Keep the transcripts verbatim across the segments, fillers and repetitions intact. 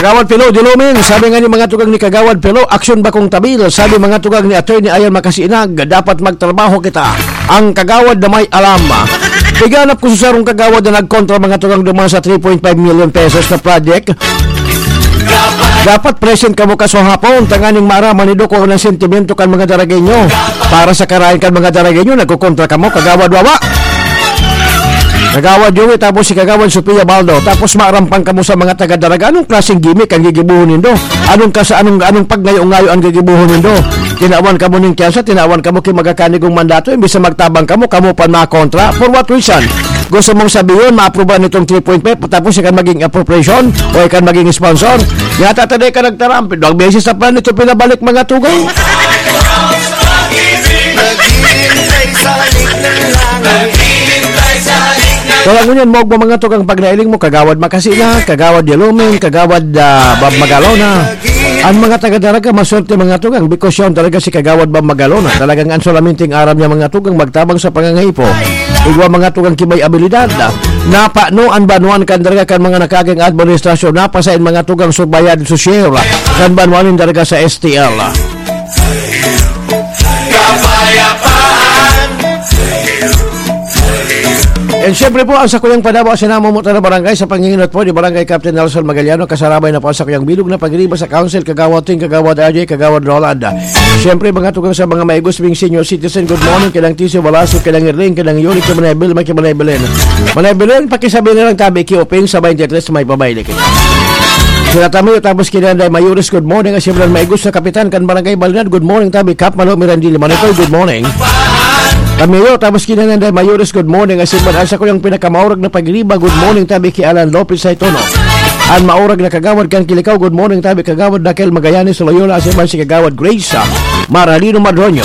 Kagawad Pilo Dilumin, sabi nga ni mga tugang ni Kagawad Pilo, aksyon bakong tabil. Sabi mga tugang ni Attorney Ayan Makasinag, dapat magtrabaho kita. Ang kagawad na may alam. Piganap ko sa sarong kagawad na nagkontra mga tugang duman sa three point five million pesos na project. Dapat present kamo kaso hapon, tanganing maaraman ni Doc ang sentimento kan mga Daragenyo. Para sa karayan kan mga Daragenyo, nagkukontra kamo, Kagawad Wawa. Kagawad Joey, tapos si Kagawad Sofia Baldo. Tapos maarampang kamo sa mga taga-Daraga. Anong klaseng gimmick ang gigibuhon nindo? Anong kasa-, anong, anong pagngayo-ngayo ang gigibuhon nindo? Tinawan kamo ning tyansa, tinawan kamo ki magakanigong mandato, imbis na magtabang kamo, kamo pa makontra. For what reason? Gusto mong sabihin, maaprubahan itong three point five, tapos ikan maging appropriation o ikan maging sponsor? Yata taday ka nagtaram, dalawang beses na pa nito pinabalik mga tugang. Naghihintay sa langit. Kaya ngunyan, maog mo mga tugang pagnailing mo, Kagawad Makasina, Kagawad Yalumin, Kagawad, ah, Bob Magalona. Ang mga taga-Daraga, maswerte mga tugang, because siya ang talaga si Kagawad Bob Magalona. Talagang ang solamente ang aram niya mga tugang, magtabang sa pangangaipo. Igwa mga tugang kibay abilidad. Napano ang banwaan kan Daraga kan mga nakaging administrasyon, napasain mga tugang subayad sosyal kan banwaan nin Daraga sa S T L. And syempre po, ang sakuyang panabo sa namumutan na barangay sa panginginot po ni Barangay Captain Nelson Magaliano, kasarabay na po ang sakuyang bilog na pagriba sa Council, Kagawad Ting, Kagawad R J, Kagawad Roland. Syempre, mga tugang sa mga maigos ming senior citizen, good morning, kailang Tiso Velasco, kailang Erling, kailang Yuri, kailang Ebil, may kailang Evelyn. Manay Belen, pakisabi na lang tabi ki Opin sa twenty-three may pabayle kita. Sila Tamayo, tapos kailang Day Mayores, good morning. Asin lang maigos na kapitan kan Barangay Balinad, good morning tabi Kap Malo Mirandili Manitoy, good morning. Tamayo, tapos kailang Day Mayores, good morning. Asin man, asa ko yung pinakamaurag na pagriba, good morning tabi ki Alan Lopez Saitono. Ang maurag na kagawad kan Kilikaw, good morning tabi Kagawad Dakel Magallanes Loyola, asin man si Kagawad Grace, ah, Maralino Madroño.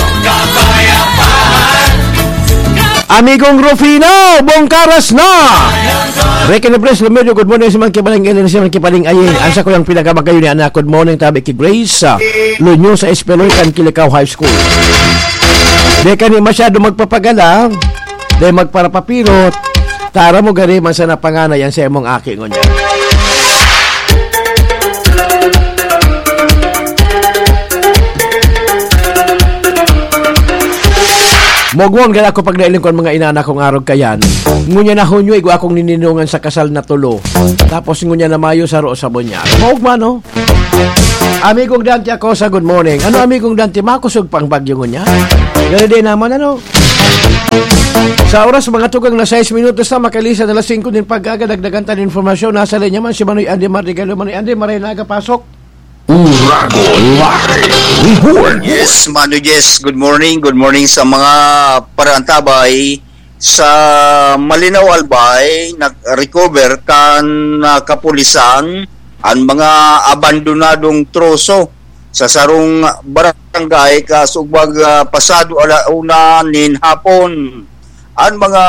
Amigong Rufino, Bongkaras na! Rekin Bres Lumedio, good morning sa mga kibaling Ellen, sa mga kibaling Aying. Ang sa kuyang pinakamagayon ni anak, good morning, tabi ki Grace, ah, Lunyo sa Espeloy, kan Kilikaw High School. Di ka ni masyado magpapagala, di magparapapirot, tara mo gari man sa napanganay ang sa imong aki ngunyan. Mogwon gaya ako pag nailing ko ang mga inana kong arog kayan. Ngunya na Hunyo, igwa akong nininungan sa kasal na tulo. Tapos ngunya na Mayo, saro sa bunyag. Maog man, no? Amigong Dante Acosa, good morning. Ano, Amigong Dante, makusog pang bagyo ngunya? Gano'n din naman, ano? Sa oras, mga tugang na sais minutos na, makalisan na alas singko din pagkaga, dagdagan tan informasyon. Nasa linya man si Manoy Andy Mardigalo. Manoy Andy, maray na aga pasok. Uragon Live Report. Yes, Mano Jess, good morning. Good morning sa mga parantabay sa Malinaw Albay. Nag-recover kan, ah, kapulisan ang mga abandonadong troso sa sarong barangay, kasugbag, ah, pasado ala una nin hapon. Ang mga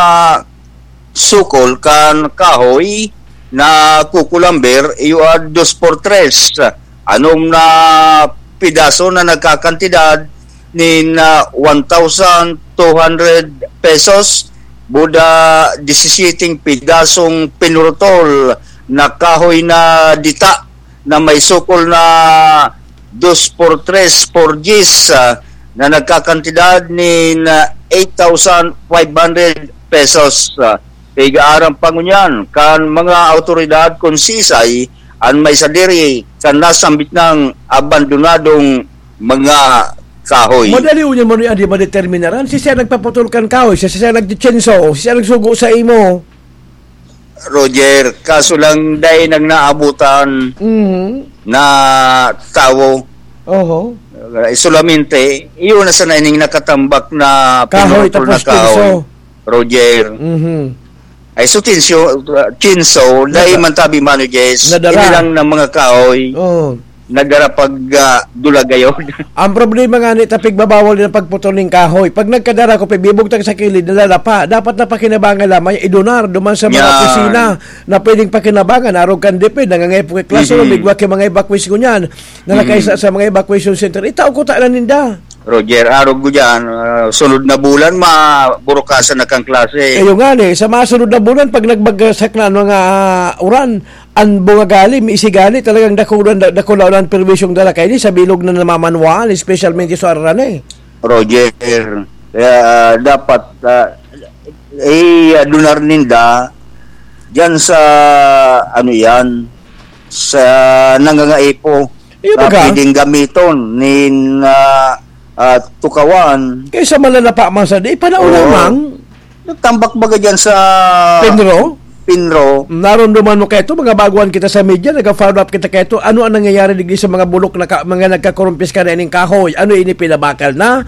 sukol kan kahoy na kukulamber, iyo, ah, dos por tres. Anom na pidaso na nagkakantidad nin, ah, one thousand two hundred pesos, buda disisyeteng pidasong pinurutol na kahoy na dita na may sukol na dos por tres, four Gs, ah, na nagkakantidad nin, ah, eight thousand five hundred pesos. Ah, igaaram pa ngunyan kan mga awtoridad kun sisay an may sadiri kan nasambit nang abandonadong mga kahoy. Madali unyan man yan, di madeterminaran. Si siya nagpaputol kan kahoy, si siya nagchichenso, si siya nagsugo sa imo. Roger, kaso lang dai nang naabutan Mhm. na tawo. Oho. Eh, solamente, iyon na sana ining nakatambak na Kahoy, pinutol na tapos kahoy. Chinso. Roger. Mhm. Ay, so, chinso, chinso, dai Nada-, man tabi, Mano Jess. Nadala. Inilang ng mga kahoy. Oo. Nagarapag, ah, dulagayon. Ang problema nga ni, ta pigbabawal din ang pagputol ning kahoy. Pag nagkadara ko, pibibugtang sa kilid, nalalapa. Dapat na pakinabangan lamang, idonar, duman sa mga Yan. opisina na pwedeng pakinabangan. Arog kan DepEd, nangangay po kay classroom, Mhm. igwa kay mga evacuees ko niyan, na Mhm. nakaisa sa mga evacuation center. Itao ko ta na ninda. Roger, arog ko dyan, ah, sunod na bulan, maburukasan na kang klase. Ayun nga ni, sa mga sunod na bulan, pag nagbagsak na ang mga, ah, uran, ang bunga gali, may isigali, talagang dakulan, dakulan ang perwisyong dala kaini sa bilog na namamanwaan, especialmente sa araran eh. Roger, kaya dapat, ah, eh, adunar ninda, dyan sa, ano yan, sa nangangaipo, Iyo na baga? Pwedeng gamiton nin, ah, ah, tukawan. Kaysa malalapa man sa di, panahon Oo. lamang. Nagtambak baga dyan sa Pinro? Pinro. Naromdoman mo kaito, mga baguhan kita sa media, nag-follow up kita kaito. Ano ang nangyayari digdi sa mga bulok na ka-, mga nagkakorumpiska na ining kahoy? Ano ini, pinabakal na?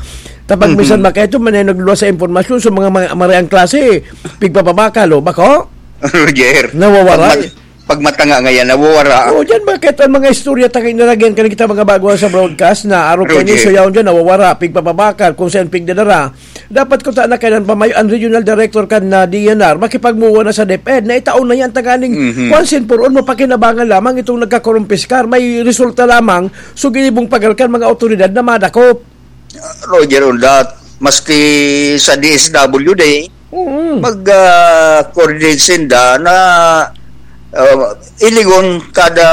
Tapag Mhm. minsan makaito, may nagluwas sa impormasyon sa mga, mga mareang klase, pigpapabakal, o, bako? Roger. Nawawara. Pag mat-, pag matanga ngayon, nawawara. Oo, dyan, bakit ang mga istorya tayo inalagyan ka kita mga baguhan sa broadcast na arog Roger. Kayo, so yaon dyan, nawawara, pigpapabakal, kung saan pigdadara. Dapat kung taan na kailan pa may ang regional director kan na D N R, makipagmuwa na sa DepEd, na itaon na yan, tanganing Mhm. once and for all, mapakinabangan lamang itong nagkakorumpiskar. May resulta lamang, so ginibong pagal kan mga otoridad na madakop. Roger, on that, maski sa D S W D, Mm. mag, ah, coordinate sinda na, ah, ilingon kada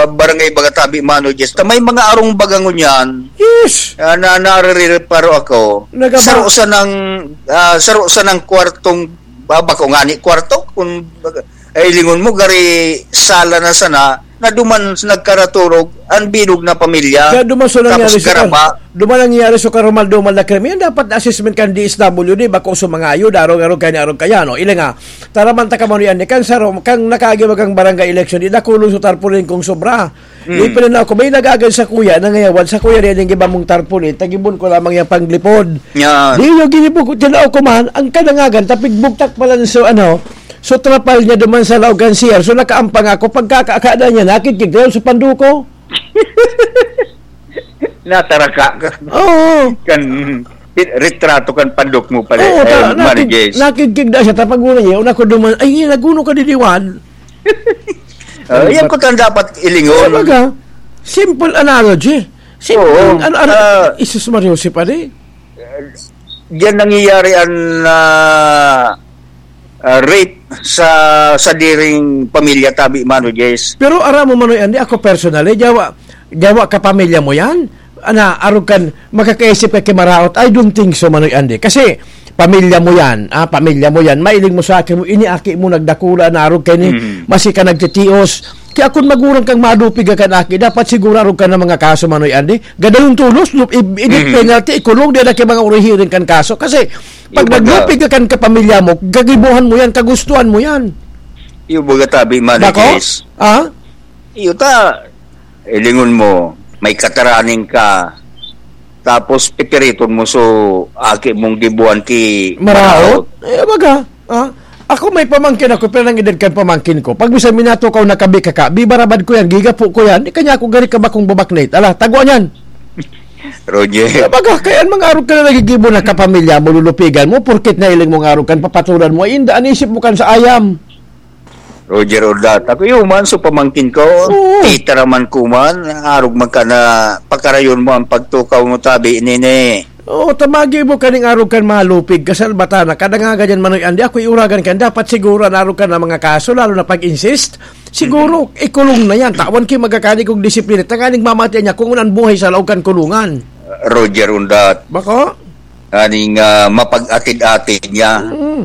barangay baga tabi, Mano Jess, ta may mga arong baga ngunyan. Yes. Ah, na, narireparo ako. Nagaba- Saro sa nang, ah, saro sa nang kwartong, ba, bako nga ni kwarto, kung baga, eh, ilingon mo, gari sala na sana, na duman nagkaraturog ang bilog na pamilya. Kaya duman so nangyari Tapos sa kar-, garaba. duman nangyari sa karumal-dumal na krimen, dapat assessment kan D S W D, bako sa mga ayo, darong-arog kaya, arog kaya, no? Ila nga, taraman ta ka man yan, kan saro, kang nakaagi magang barangay election, di dakulon sa tarpaulin kung sobra. Mm. Di pinanaw ko, may nagagan sa kuya, nangayawan sa kuya, di ning iba mong tarpaulin, tagibon ko lamang yung panglipod. Yan. Di yung ginibog, tinaw ko man, ang kanangagan, tapigbugtak pala so, ano, so trapal niya duman sa laog kan C R. So nakaampang ako, pagkakakada niya, nakidkig dayon sa panduko. Nataraka ka. Oo. Kan, retrato kan pandok mo pala, Oo, eh, ta-, nakid-, Marites. Nakidkig na siya, tapag muna niya, una ko duman, "Ay, naguno ka diliwan." Ah, yan po ang dapat ilingon. Kaya baga, simple analogy. Simple, Oo, ano, ano, ah, Isus Maria Jose pa di? Diyan nangyayari ang, ah, ah, rape sa sadiring pamilya, tabi, Mano Jess. Pero aram mo, Manoy Andy, ako personally, jawa, jawa ka pamilya mo yan? Ana, arog kan, makakaisip ka kimaraot? I don't think so, Manoy Andy. Kasi, pamilya mo yan, ah, pamilya mo yan, mailing mo sa aki mo, ini aki mo nagdakula na arog kay ni, Mm. masi ka nagtitios. Kaya kung magurang kang madupig ka kan aki, dapat siguro arog ka ng mga kaso, Manoy Andy. Gadayon tulos, lup-, i-, i-death Mm. penalty, ikulong, di na kay mga urihirin kan kaso. Kasi, pag Yung baga naglupig ka kan kapamilya mo, gagibuhan mo yan, kagustuhan mo yan. Yung baga tabi, Manoy Bako? Jess. Ah? Iyo ta, ilingon mo, may kataraning ka, tapos pipiriton mo so aki mong gibuan ki Maraot? Maraot. Eh, baga, ah, ako may pamangkin ako, pero nang edad kan pamangkin ko. Pag minsan minatukaw na kabi kaka, bibarabad ko yan, gigapo ko yan, di kanya ako gari ka bakong babaknit. Ala, taguan yan. Roger. Eh, baga, kaya ang mga arog ka na nagigibo na kapamilya mo, lulupigan mo, porkit na iling mong arog kan papatulan mo, ay inda, an isip mo kan sa ayam. Roger Ordata. Kuya Human, so pamangkin ko, Oo. Tita raman ko man, arog man ka na pakarayon mo ang pagtukaw mo tabi, nene. Oo, tamagi mo kaning arog kan malupig, kasal bata na, kadangaga dyan, Manoy Andy, ako iuragan kan, dapat siguro ang arog kan na mga kaso, lalo na pag-insist, siguro, Mhm. ikulong na yan, tawan ki magkakani kong disiplina, tanganing mamatian niya kung unang buhay sa laog kan kulungan. Roger Undat. Bako? Aning, ah, mapag-atid-atid niya. Mm.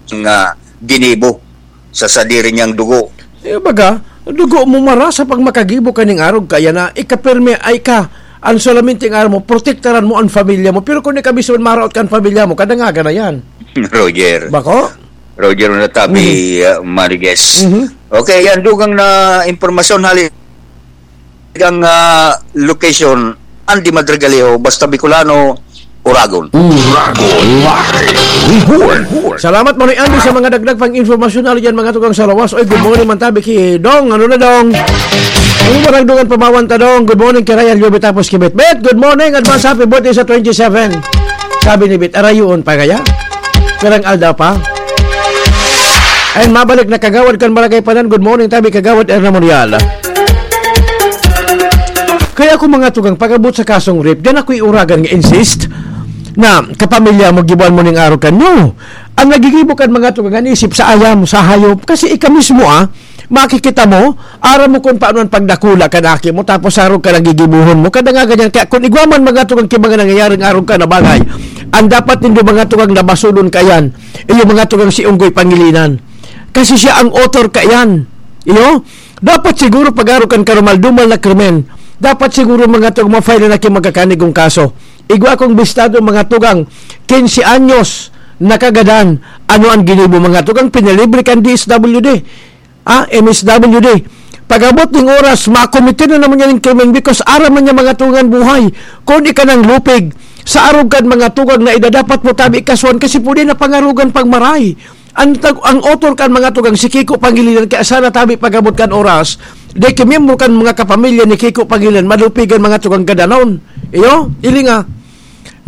Nga ginibo sa sadiri niyang dugo. Eh, baga, dugo mo mara sa pagmakagibo kaning arog kaya na ikapirme ay ka. Ang solamente nga mo, protektaran mo ang pamilya mo. Pero kung ikaw mismo maraot ka ang pamilya mo, kadangaga na yan. Roger. Bako? Roger na tabi, Mhm. ah, Mariguez. Mhm. Okay, yan. Dugang na impormasyon hali ang, ah, location, Andy Madrigalejo, basta Bicolano, Uragon. Uragon Live Report. Salamat, Manoy Andy, sa mga dagdag pang impormasyon na dyan, mga tugang sa lawas. Oy, good morning, man tabi ki Dong. Ano na, Dong? Ano ba nagdungan pamawan ta, Dong? Good morning, kay Ryan Lubit, tapos kay Bet. Bet, good morning. Advance happy birthday sa twenty-seven. Sabi ni Bet, arayon pa kaya? Pirang aldaw pa? Ayun, mabalik na kagawad kan Barangay Panan. Good morning, tabi kagawad Erna Morial. Kaya ako, mga tugang, pag-abot sa kasong rape, diyan ako'y uragan nga insist na kapamilya mo, gibuan mo ning arog kan. No! Ang nagigibo kan, mga tugang, an isip sa ayam, sa hayop, kasi ika mismo, ah, makikita mo, aram mo kung paano ang pagdakula kan aki mo, tapos arog ka nagigibuhon mo. Kada nga ganyan, kaya kung igwa man, mga tugang, ki mga nangyayaring arog ka na bagay, ang dapat nindo, mga tugang, na basulon ka yan, iyo, mga tugang, si Unggoy Pangilinan. Kasi siya ang author ka yan. Iyo? Dapat siguro pag-arog kan karumal-dumal na krimen, dapat siguro, mga tugang, ma-file na ki magkakanigong kaso. Igwa kong bistado, mga tugang, quince anyos, nakagadan. Ano ang ginibo, mga tugang? Pinalibre kan D S W D. Ah, M S W D. Pag-abot ning oras, makomite na naman niya ning krimen because aram na niya, mga tugang, buhay. Kung ika nang lupig, sa arog kan, mga tugang, na edad, dapat mo tabi ikasuhan kasi pwede na pangarogan pagmaray. Ang tag-, ang author kan, mga tugang, si Kiko Pangilinan, kaya sana tabi pag-abot kan oras, di ki miyembro kan mga kapamilya ni Kiko Pangilinan, malupigan, mga tugang, gadanon. Iyo, ilinga.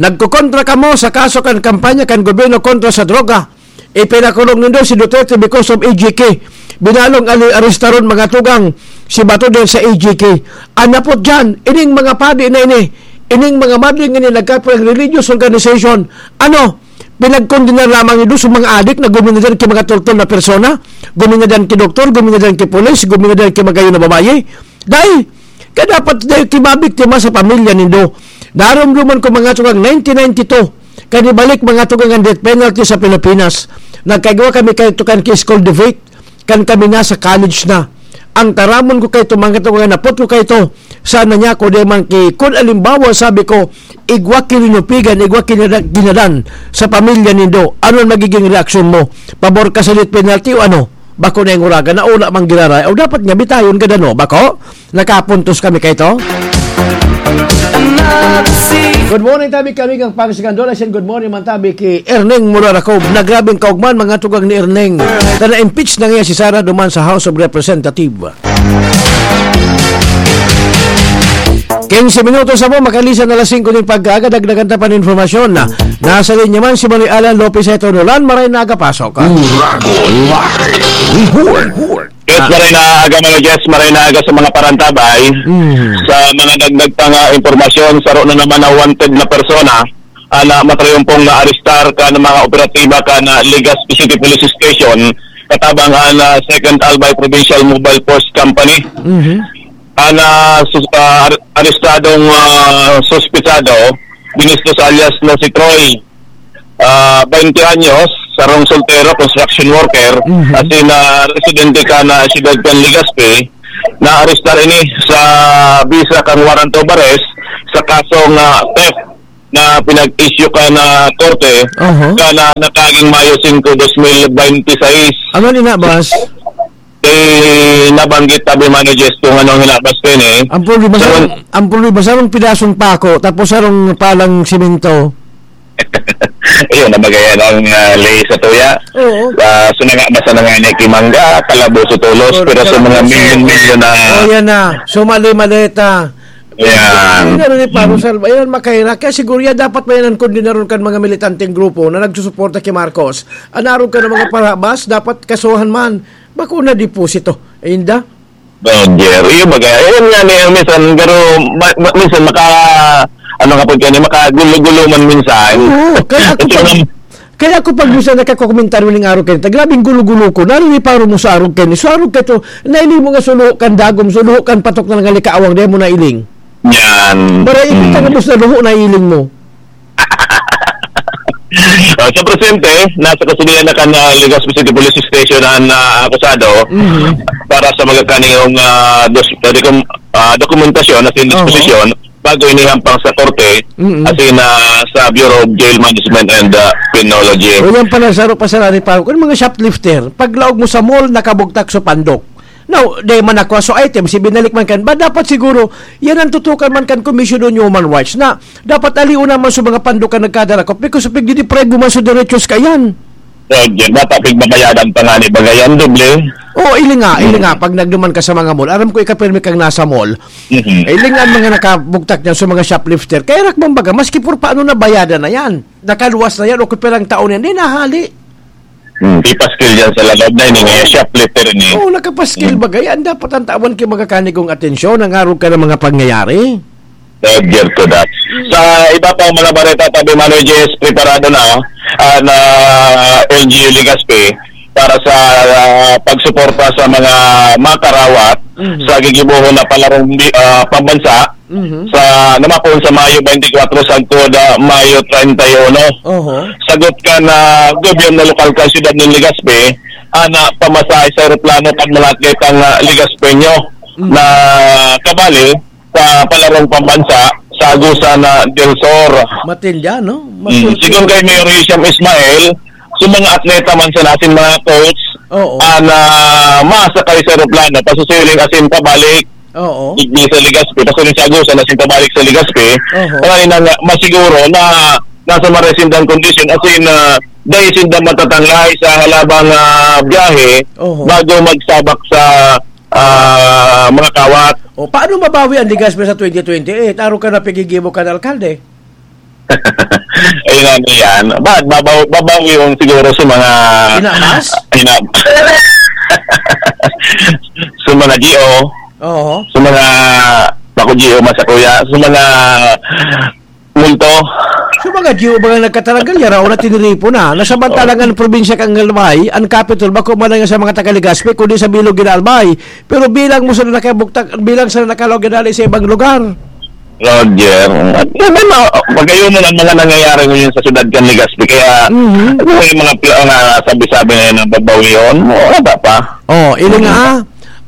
Nagkokontra kamo sa kaso kan kampanya kan gobyerno kontra sa droga. Ipinakulong nindo si Duterte because of A G K. Binalong ali-, arestaron, mga tugang, si Bato dahil sa A G K. Anapot dyan, ining mga padi na ini, ining mga madling ini nagkapag religious organization. Ano? Pinagkondenar lamang nindo sa mga adik na guminadan ki mga toltol na persona, guminadan ki doktor, guminadan ki pulis, guminadan ki magayon na babayi. Dai, kaya dapat dai ki mabiktima sa pamilya nindo. Narumduman ko, mga tugang, nineteen ninety-two, kan ibalik, mga tugang, ang death penalty sa Pilipinas. Nagkaigwa kami kaito kan ki school debate, kan kami nasa college na. Ang taramon ko kaito, mga tugang, napot ko kaito, sana niya ko di man ki, kun alimbawa, sabi ko, igwa ki linupigan, igwa ki nada-, ginadan sa pamilya nindo. Ano ang magiging reaksyon mo? Pabor ka sa death penalty o ano? Bako na yung uragan na ula mang giraray. O dapat nga bitayon ka dano, bako? Nakapuntos kami kay to. Good morning, tabi kami kang Pangasinan Dola. Siyan, good morning man tabi ki Erneng Murarakob. Nagrabing kaugman, mga tugang ni Erneng. Na na-impeach na ngayon si Sara duman sa House of Representative. Quince minutos na po, makalisan na alas singko ning pagkaaga, dagdagan ta pa nin informasyon na nasa linya man si Manoy Alan Lopez Heto Nolan, maray na aga pasok. Uragon Live Report. Yes, maray na aga, mga Jess, maray na aga sa mga parantabay, Mm. sa mga dagdag pang, ah, impormasyon, saro na naman na wanted na persona, ah, na matrayumpong naarestar kan mga operatiba kan, ah, Legazpi City Police Station, katabang an, ah, Second Albay Provincial Mobile Force Company. Mhm. An, ah, sus-, ah, ar-, arestadong, ah, suspitsado, Binistos alias na si Troy, ah, baynte anyos, sarong soltero, construction worker, Mhm. asin, ah, residente kan, ah, siyudad kan Legazpi, naarestar ini sa bisa kan warrant of arrest sa kasong, ah, theft na pinag-issue kan, ah, korte Aha. kan, ah, nakaging Mayo singko, dos mil bente seis. Ano ni na, boss? Eh, nabanggit tabi man ni Jess kung anong hinabas ko yun eh. Ang problema, Sarong sarong, ang problema, sarong pidasong pako, tapos sarong palang simento. Ayun, nabagayan ang, ah, lay sa tuya. Oo. Ah, so na nga, basta na nga ni Kimangga, kalaboso tulos, Or pero sa mga kalaboso. milyon-milyon na Oh, yan na. So, mali-mali ta. Yan. Yan na rin, Paro Salva. Yan, makaira. Kaya siguro yan, dapat may nang kondenaron kan mga militanteng grupo na nagsusuporta kay Marcos. Anaron ka ng mga parabas, dapat kasuhan man. Bako na deposito. Inda? Don Jerry, baga, ayun nga niya, minsan, pero ma-, ma-, minsan maka, ano nga po yan, makagulo-gulo man minsan. Oo, kaya ako Ito pag, nga, kaya ako pag minsan nakakomentaryo ning arog kayo, grabing gulo-gulo ko, naririparon mo sa arog kayo, sa arog kayo, nailing mo nga suluho kan dagom, suluho kan patok na nangalikaawang, dahil mo nailing. Yan. Maray, Mm. ikita na mo sa luho, nailing mo. Ah, sa presente, nasa kustodiya na kan, ah, Legazpi City Police Station ang, ah, akusado Mhm. para sa mga kaniyong, ah, dos-, ah, dokum-, ah, dokumentasyon at Oo. disposisyon bago inihampang sa korte Mhm. at in, ah, sa Bureau of Jail Management and, ah, Penology. O yan pala, saro pa sa rari pa. Kung mga shoplifter, paglaog mo sa mall, nakabugtak sa pandok. Now, di man nakuha so items, ibinalik man kan. Ba, dapat siguro, yan ang tutukan man kan Commission on Human Rights na dapat aliw naman sa mga pandukan nagkadarakop because pigdideprive mo man sa derechos ka yan. So, yan, dapat pigbabayadan pa nga ni Bagayan, doble. Oo, ili nga, ili Mm. nga, pag nagduman ka sa mga mall, aram ko ikapirmi kang nasa mall, Mhm. ili nga ang mga nakabugtak niyan sa mga shoplifter, kaya rakbang baga, maski por paano nabayadan na yan, nakaluwas na yan, o kung pirang taon yan, di nahali. Hmm, ipaskil dyan sa loob na ini, eh, shoplifter ini. Oo, nakapaskil Hmm. bagay. Ang dapat ang tawan kay mga kanigong atensyon, ang arog ka ng mga pangyayari. Subject to that. Sa iba pang mga bareta, tabi, Manoy Jess, preparado na, ah, na L G U Legazpi para sa, ah, pagsuporta sa mga makarawat Mhm. sa gigibohon na palarong bi-, ah, pambansa Mhm. sa, na mapoon sa Mayo twenty-four sagkod, ah, Mayo treinta y uno. Oho. Sagot kan gobyerno lokal kan siyudad nin Legazpi, ana, pamasahe sa eroplano kan mga atletang, ah, Legazpeño Mhm. na kabali sa palarong pambansa sa Agusan na del Sur. Matindi, no? Mm, Matindi. Sigon kay Mayor Hisham Ismail, sa mga atleta man sa nasin mga coach, Oo. ana, masakay sa eroplano, pasusiling asin pabalik, Oo. digdi sa Legazpi, pasusiling sa Agusan asin pabalik sa Legazpi, Oho. para nang masiguro na nasa maray sindang kondisyon, asin, ah, dai sinda matatanglay sa halabang, ah, biyahe Oho. bago magsabak sa, ah, mga kawat. O, paano mabawi ang Legazpi sa twenty twenty-eight? Arog kan pigigibo kan alkalde. Ayun nga, ano yan. Ba-, babaw-, babawi yun siguro sa mga Inamas? Ina-, sa mga G O. Oo. Sa mga, naku, G O, masa kuya. Sa mga multo. Sa mga G O ba nga nagkataranggal, yaraw na tiniripo na. Nasamantalang Oo. ang probinsya kan Albay, ang capital, bako man lang sa mga taga Legazpi, kundi sa bilog gin Albay. Pero bilang mo sila nakabugtak, bilang sila nakalaog ginali sa ibang lugar. Roger, at may, may mga, magayon mo ang mga nangyayari ngayon sa syudad kan Legazpi. Kaya, Mhm. ano yung mga pla-, mga sabi-sabi na yun, ang babaw yun, wala pa. Oh, ini nga, ah,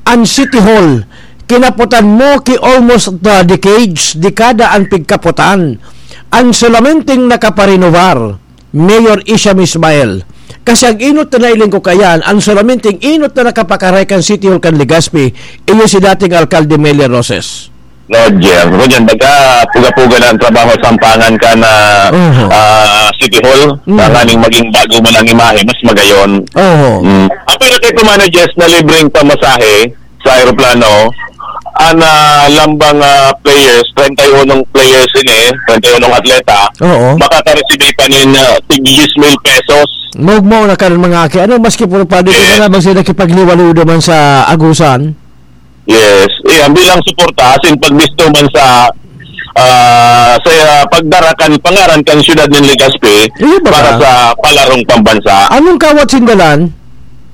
ang City Hall, kinapotan mo ki almost the decades, dekada ang pigkapotan. Ang solamente nakaparenovar, Mayor Isham Ismail. Kasi ang inot na nailing ko kayan, ang solamente inot na nakapakaray kan City Hall kan Legazpi, iyo si dating Alkalde Meli Roses. Roger, Roger, baga puga-puga na ang trabaho sa sampangan ka na, Oho. ah, City Hall, Mm. na nganing maging bago man ang imahe, mas magayon. Oho. Mm. Apil na kay Commander Jess na libreng pamasahe sa aeroplano, ang, ah, lambang, ah, players, treinta y uno players ini, treinta y uno atleta, Oo. makaka-receive pa nin, ah, tig diyes mil pesos. Maugmaw na karon mga aki. Ano, maski puro padi ko Yes. na lang bang sila kipagliwalo naman sa Agusan? Yes. Iyan, bilang suporta, asin pagbisto man sa, ah, sa, ah, pagdara kan pangaran kan siyudad nin Legazpi Iyo ba para ka? sa palarong pambansa. Anong kawat sindalan?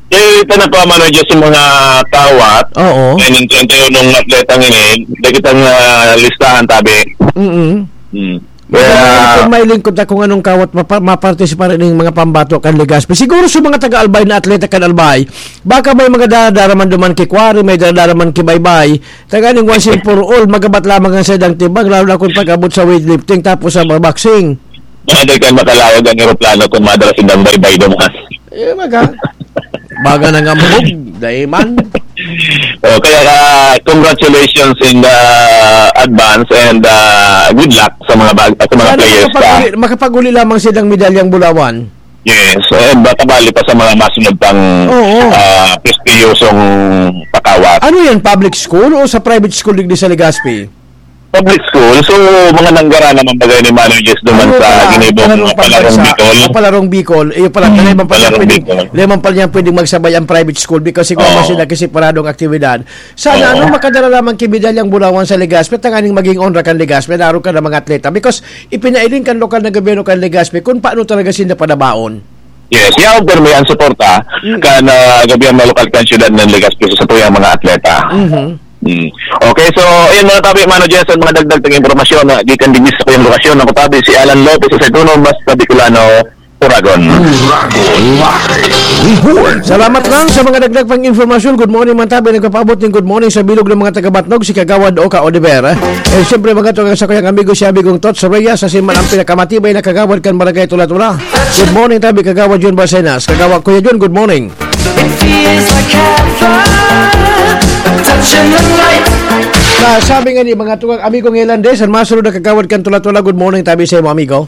Eh, ito na pa, manager sa mga kawat. Oo. Kaya nin treinta y uno atletang ini, dai kitang, ah, listahan, tabi. Mm-mm. Hmm. Kaya Kaya kung may lingkod na kung anong kawat mapa-, mapartisipa rin ng mga pambato kan Legazpi. Siguro sa mga taga-Albay na atleta kan Albay, baka may mga daradara man duman ki Quarry, may daradara man ki Baybay. Taga ning once and for all, magabat lamang ang saindang timbang, lalo na kung pag-abot sa weightlifting, tapos sa boxing. Baka di ka makalayag ang eroplano kung madala sindang Baybay duman. Eh, baga. Baga na nga mabog, daiman. Oh, kaya, ah, congratulations in the advance and, ah, good luck sa mga bag-, sa mga Sana players pa. makapag-uli, makapag-uli lamang silang medalyang bulawan. Yes, and baka bali pa sa mga masunod pang, Oo. ah, prestiyosong pakawat. Ano yan, public school o sa private school digdi sa Legazpi? Public school, so mga nanggara naman bagay ni Manoy Jess duman Ano sa pala, ginibong palarong mga palarong pambansa, Bicol. ah, palarong Bicol. Eh, pala, Hmm, dahil man pala palarong pwedeng, Bicol. dahil man pala niya pwedeng magsabay ang private school because siguro Oo. sila kasi paradong aktibidad. Sana, Oo. ano, makadala lamang ki medalyang bulawan sa Legazpi, tanganing maging onra kan Legazpi, laro ka ng mga atleta. Because ipinailing kan lokal na gobyerno kan Legazpi kung paano talaga sila panabaon. Yes, yaon permi ang suporta Mm. kan, ah, gobyerno lokal kan siyudad ng Legazpi sa tuyang mga atleta. Mhm. Mm. Okay, so, ayun mga tabi, Mano Jess, ang mga dagdag tang impormasyon na gikan digdi sa tuyang lokasyon. Ako tabi si Alan Lopez sa Seduno, basta Bicolano, Uragon. Uragon Live Report. Salamat lang sa mga dagdag pang impormasyon. Good morning, man tabi. Nagpapaabot ng good morning sa bilog ng mga taga-Batnog, si Kagawad Oka Oliver. Eh, siyempre, mga tugang sa kuyang amigo, si Amigong Tots Reyes, sa siman ang pinakamatibay na kagawad kan Barangay Tula-Tula. Good morning, tabi, Kagawad Jun Barcenas. Kagawad Kuya Jun, good morning. It feels like heaven, a touch in the night. Ah, sabi nga ni mga tugang, amigo nga Elandes, ang masunod na kagawad kan Tula-Tula, good morning, tabi sa imo, amigo.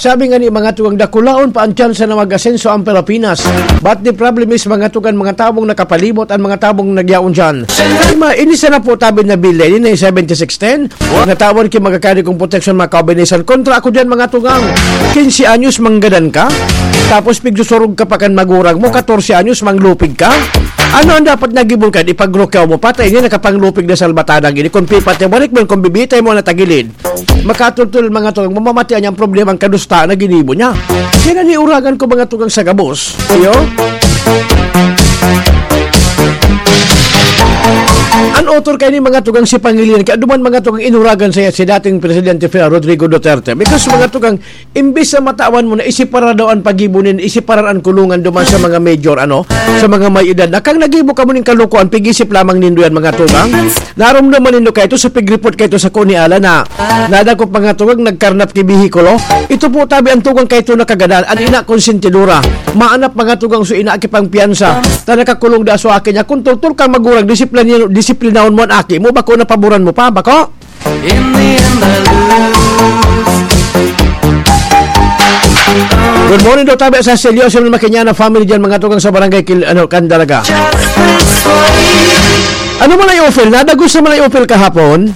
Sabi nga ni mga tugang, dakulaon pa ang tsansa na mag-asenso ang Pilipinas. But the problem is, mga tugang, mga tabong nakapalimot, ang mga tabong nagyaon dyan. Ay, ma, ini sana po tabi na bill, ini na yung seventy-six ten. Natawan ki magkakari kong proteksyon, mga kabinesan. Kontra ako dyan, mga tugang. Quince anyos, manggadan ka. Tapos, pigsusurog ka pa kan magurag mo, katorse anyos, manglupig ka. Ano ang dapat nagibol ka? Ipagrukaw mo, patay niya, nakapanglupig na salbatanang ini. Kung pipatay, balik mo, kung bibitay mo, natagilid. Makatultol, mga tugang, mamamatian niya ang problema, ang kadusta na ginibo niya. Kaya naniuragan ko, mga tugang, sa gabos. Iyo? Ang author kayo ni mga tugang si Pangilinan, kaya duman mga tugang inuragan saya si dating Presidente Fidel Rodrigo Duterte. Because mga tugang, imbis na matawan mo na isiparar daw ang pagibo nin, isiparar ang kulungan duman sa mga major, ano, sa mga may edad. Na kang nagibo ka mo ning kalukuan, pig-isip lamang nindo yan, mga tugang. Narumduman nindo kayo sa pig-report kayo sa Kuni Ala na nadakop mga tugang nagkarnap ki behikulo. Ito po tabi ang tugang kayo nakagadan, ang ina konsentidora. Maanap mga tugang so ina ki pang piyansa. Ta nakakulong da so aki niya. Kung tultol kang magurang, disiplin-, disiplinahon mo ang aki mo, bako napaboran mo pa, bako? In the end, I lose. Good morning daw, tabi sa Celio, sa Makinyana family dyan, mga tugang sa barangay Kil-, ano, Candaraga. Just this way. Ano man ay ofel? Nadagos naman ay ofel kahapon?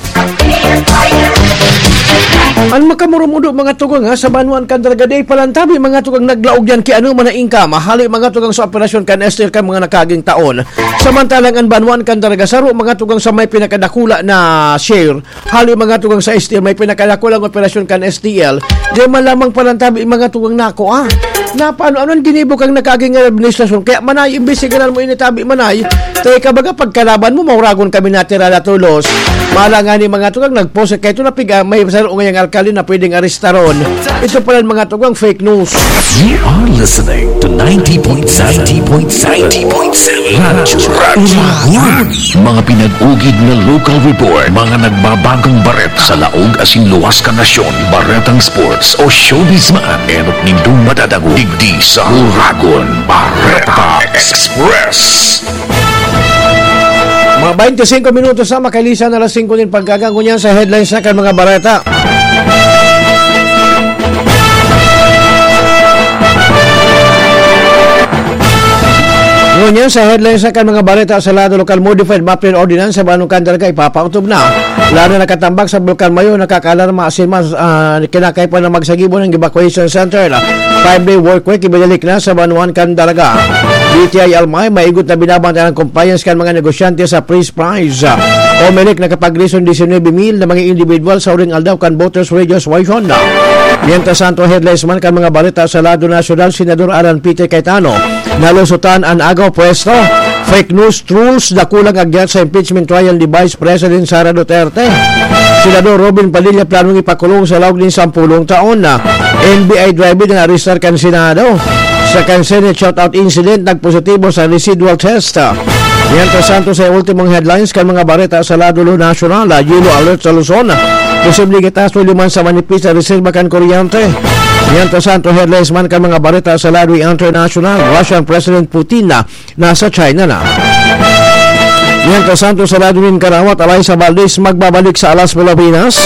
Ang makamurumudo, mga tugang, ha, sa Banwaan Candaraga, di palantabi, mga tugang, naglaog yan ki ano man ang income. Hali, mga tugang, sa operasyon kan S T L kan mga nakaging taon. Samantalang ang Banwaan Candaraga, saro, mga tugang, sa may pinakadakula na share. Hali, mga tugang, sa S T L, may pinakadakulang operasyon kan S T L. Di man lamang palantabi, mga tugang, nako, ah. Na paano, ano ang ginibo kang nakaging administrasyon? Kaya manay, imbis sigaran mo initabi manay, tayo ka baga pagkalaban mo, mauragon kami natira na tulos. Mala nga ni mga tugang, nagpost kayo ito na piga, may saro ngayang alkalde na pwedeng arestaron. Ito pala ang mga tugang, fake news. You are listening to ninety point seven, ninety point seven, ninety point seven Radyo Uragon. Mga pinag-ugid na local report, mga nagbabagong bareta sa laog asin luwas kan nasyon, baretang sports o showbiz man, enot nindong madadangog digdi sa Uragon Bareta Express. Mga twenty-five minutos na, makalisan na alas singko nin pagkaga. Ngunyan sa headlines na kan mga bareta. Ngunyan sa headlines na kan mga bareta sa lado lokal, modified mapping ordinance sa Banwaan Candaraga ipapautob na. Lalo na nakatambak sa Bulkan Mayo, nakakaalarma asin mas, ah, kinakaipuhan na magsagibo ng evacuation center. Five-day work week, ibinalik na sa Banwaan Candaraga. D T I L M I, maigot na binabantayan ang compliance kan mga negosyante sa freeze price. Comelec nakapag-reason disinuybe mil na mga individual sa uring aldaw kan voters registration. Mientras tanto, headlines man kan mga bareta sa lado nasyonal, Senador Alan Peter Cayetano, nalusotan an agaw pwesto. Fake news, trolls, dakulang agyat sa impeachment trial ni Vice President Sara Duterte. Senador Robin Padilla planong ipakulong sa laog nin sampulong taon. N B I driver na naarestar kan Senado. Sa kan Senate shootout incident, nagpositibo sa residual test. Mientras tanto, sa ultimong headlines kan mga bareta sa lado nasyonal, yellow alert sa Luzon. Posibleng itaas o liman sa manipis na reserba kan kuryente. Mientras tanto, headlines man kan mga bareta sa lado internasyonal, Russian President Putin na nasa China na. Mientras tanto, sa lado nin karawat, Alaysa Valdez magbabalik sa Alas Pilipinas.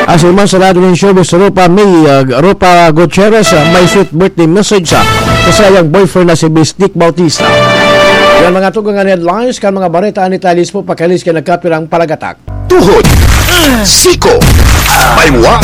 Asin man sa lado nin showbiz, Rupa May, uh, Rupa Gutierrez, uh, may sweet birthday message, uh, sa sayang boyfriend na si Bistik Bautista. Yan mga tugang an headlines kan mga bareta ni Talis po, pakalis kay nagkapirang palagatak. Tuhod, siko, baywa,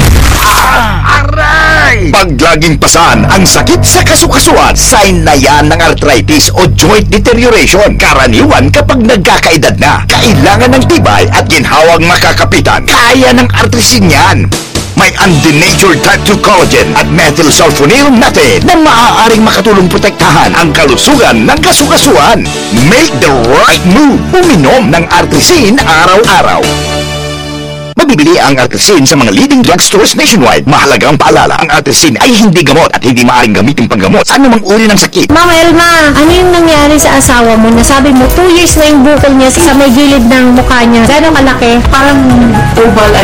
aray! Pag laging pasan ang sakit sa kasukasuan, sign na yan ng arthritis o joint deterioration. Karaniwan kapag nagkakaedad na, kailangan ng tibay at ginhawang makakapitan. Kaya ng Artrisin yan. May undenatured type two collagen at methylsulfonyl natin na maaaring makatulong protektahan ang kalusugan ng kasukasuan. Make the right move. Uminom ng Artrisin araw-araw. Mabibili ang Artrisin sa mga leading drugstores nationwide. Mahalagang paalala, ang Artrisin ay hindi gamot at hindi maaaring gamitin panggamot sa anumang uri ng sakit. Ma'am Elma, ano yung nangyari sa asawa mo? Nasabi mo, two years na yung bukol niya sa may gilid ng mukha niya. Gano'ng kalaki? Parang oval, I